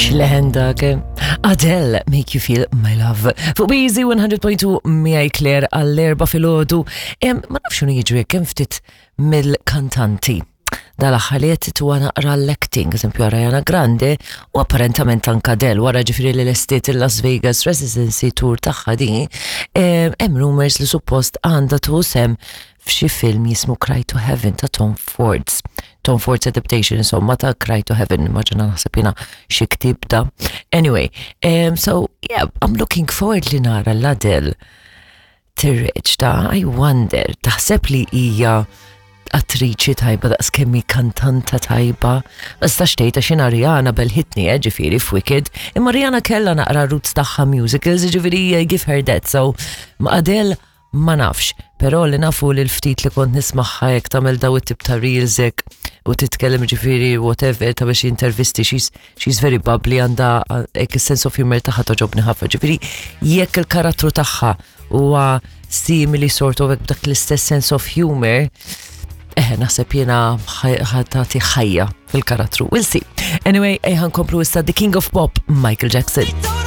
X'leħen dak. Eh? Adele, Make You Feel My Love. Fuq Easy 100.2 miegħi Claire għall-erba filgħodu. Ma nafx x'inhu jiġri kemm ftit mill-kantanti dal-aħħar li qed tuha naqra l-acting, eżempju Ariana Grande u apparentament anka Adele wara ġifieri li lestiet il-Las Vegas Residency Tour tagħha di, hemm rumors li suppost għandha tuħu sem f'xi film jismu Cry to Heaven ta' Tom Ford's. Tom Ford's adaptation insomma ta' Cry to Heaven, immaġina naħseb jiena xi ktieb da. Anyway, um, so yeah, I'm looking forward li nara l-Adele tirreċta, I wonder, taħseb li hija attriċi tajba daqs kemm hi kantanta tajba. Ma nistax tgħid għax jiena Rihanna belħitni eh, ġifieri f'Wicked, imma Rihanna kellha naqra roots tagħha musicals, ġifieri eh, give her that. So ma Adele ma nafx, però li nafu li l-ftit li kont nismagħha jekk tagħmel daw it-tip ta' reels hekk u titkellem ġifieri whatever ta' biex intervisti she's, she's very bubbly għandha hekk is-sense of humor tagħha toġobni ħafna. Ġifieri jekk il-karattru tagħha huwa simili sort of b'dak l-istess sense of humor, eh, naħseb jiena ħatati ħajja fil-karattru. We'll see. Anyway, ejħan komplu issa The King of Pop, Michael Jackson.